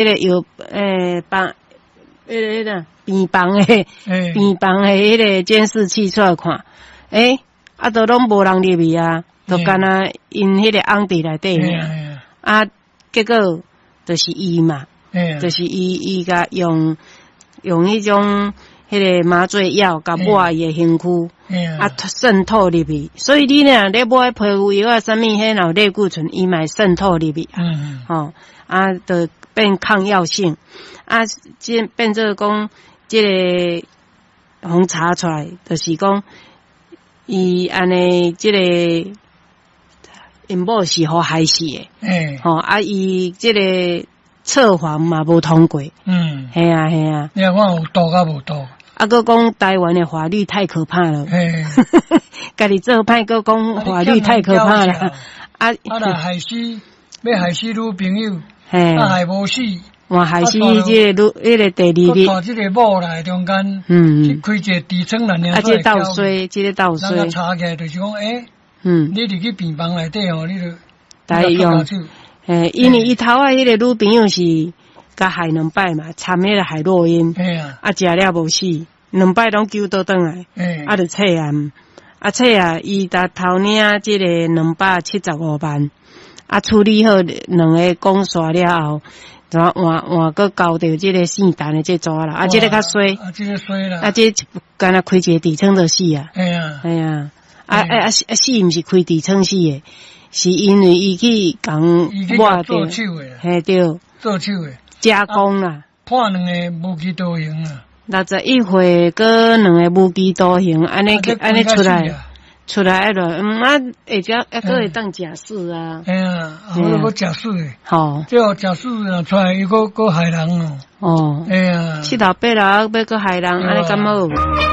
個藥房，彼個病房的病房的彼個監視器出來看，啊，都攏無人入去啊，就干焦𪜶彼個翁佇內底爾，啊，結果就是伊嘛，就是伊伊共用彼種彼個麻醉藥，共抹伊的身軀，啊，滲透入去，所以你若咧抹皮膚藥啊，啥物彼若有類固醇，伊嘛會滲透入去，吼，啊，就變抗藥性，啊，這變做講，這個予查出來，就是講，伊按呢，這個𪜶某是予害死的，吼，啊，伊這個測謊嘛無通過，係啊係啊，你看有毒抑無毒？啊，閣講台灣的法律太可怕了，家己做歹，閣講法律太可怕了，啊，啊，若害死，欲害死女朋友，啊，害無死，哇，害死這個女，彼個第二日，帶這个某來中間，去開一个痔瘡來，啊，這個鬥衰，這個鬥衰，查起來就是講，你入去病房內底吼，你就來用，因為伊頭仔彼個女朋友是共害兩擺嘛，摻彼個海洛因，啊，食了無死，兩擺攏救倒轉來，啊，就測驗，啊，測啊，伊才偷領這個275萬，啊，處理好兩个講煞了後，就換換閣交著這個姓陳的這逝啦，啊，這个較衰，啊，這个衰啦，啊，這干焦開一个痔瘡就死啊，係啊，啊啊啊死毋是開痔瘡死的，是因為伊去共抹著，嘿對，做手的加工啦，判兩个無期徒刑啊，61歲，閣兩个無期徒刑，按呢按呢出來，出來了，啊，會遮抑閣會當假釋啊，嘿啊，啊，閣假釋的，吼，這個假釋若出來，伊閣閣害人哦，哦，嘿啊，七老八老欲閣害人，按呢敢好？